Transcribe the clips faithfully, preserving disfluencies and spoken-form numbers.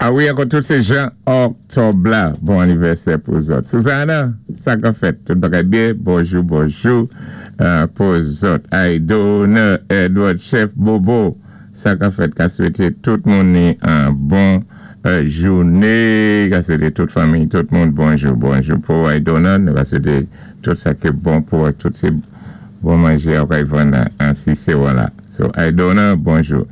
A wi, ankò tout sé jan òktòb la, bon anivèsè pou zòt. Susanna, sa ka fèt, tout bagay byen, bonjou, bonjou euh, pou zòt. Aidona, Edward, Chef Bobo, sa ka fèt, ka swété tout moun ni an bon euh, jouné, ka swété tout fanmi, tout moun, bonjou, bonjou pou Aidona, nou ka swété tout sa ki bon pou tout sé bon manjé ou kay vann an Cicéron la. So, Aidona, bonjou.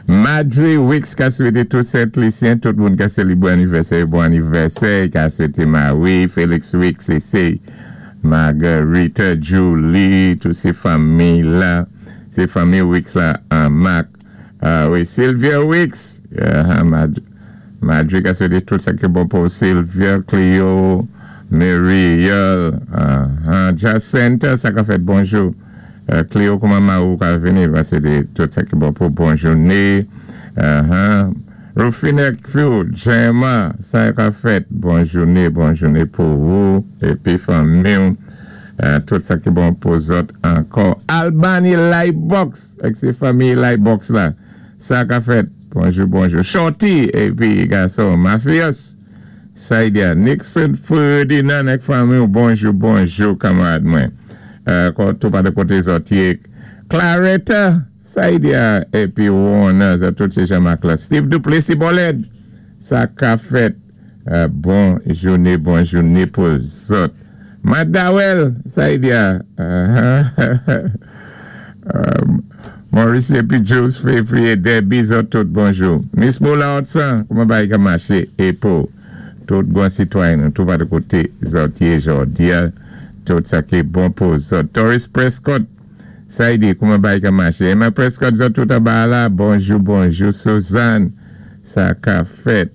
Madre Wicks ka swété tout Sent-Lisyen, tout moun ka sélébwé anivèsè, bon anivèsè, ka swété Marie, Félix Wicks, c'est Margarita, Julie, tout sé fanmi la, sé fanmi Wicks la, an Mac, uh, wi, Sylvia Wicks, uh, Mad Madre ka swété tout sa ki bon pou Sylvia, Cleo, Muriel, uh, uh, Jacinta, sa ka fèt bonjou. Euh, Cléo, kouman ma ou ka vini, va swété tout sa ki bon pou bon jouné. Uh -huh. Rufine Few, Gemma, sa ka fèt, bon jouné, bon jouné pou ou, épi fanmi, euh, tout sa ki bon pou zòt ankò. Albany Lightbox, ak sé fanmi Lightbox la, sa ka fèt, bonjou, bonjou. Shorty, épi gason, Mafios, Saidia, Nixon Ferdinand, ak fanmi, bonjou, bonjou, kanmarad mwen. Euh, tout pa de koté zòt yé. Claretta, Saidia, épi Warner, sa tout sé Jean-Marc la. Steve Duplessis Boled, sa ka fèt. Euh, bon jouné, bon jouné pou zòt. Madawel, Saidia. Uh, uh, Maurice épi Jules Février, Debbie, zòt tout bonjou. Miss Moula Hudson, kouman bagay ka maché? É pou tout bon sitwayen, tout pa de koté zòt yé jòdi a, tout sa ki bon pou zòt. Doris Prescott, Saidi, kouman bagay ka maché? Emma Prescott, zòt tout anba la, bonjou, bonjou. Suzanne, sa ka fèt.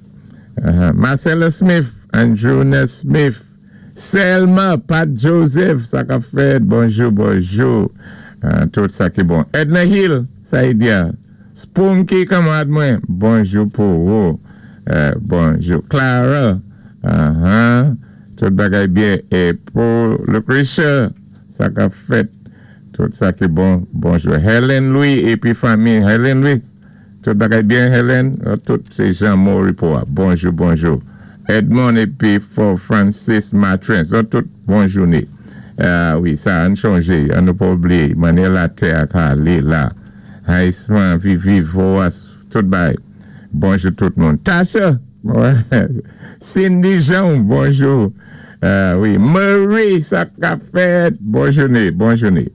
Uh-huh. Marcella Smith, Andrew Smith, Selma, Pat Joseph, sa ka fèt, bonjou, bonjou. Uh, tout sa ki bon. Edna Hill, Saidia. Spunky, kanmarad mwen, bonjou pou ou. Uh, bonjou. Clara, uh-huh. Tout bagay byen. É pou Lucretia, sa ka fèt. Tout sa ki bon, bonjou. Helen Louis, épi fanmi, Helen Louis. Tout bagay byen, Helen. Tout sé Jean Moripoa. Bonjou, bonjou. Edmond épi for Francis Matrin. Sa tout bon jouné. Uh, wi, sa an chanjé. An nou pa oubliyé. Mannyè latè a ka alé la. Haïsman, Vivi, Voas, tout bagay. Bonjou tout moun. Tasha. Cindy Jean, bonjou. Uh, wi, Marie, sa ka fèt. Bon jouné, bon jouné.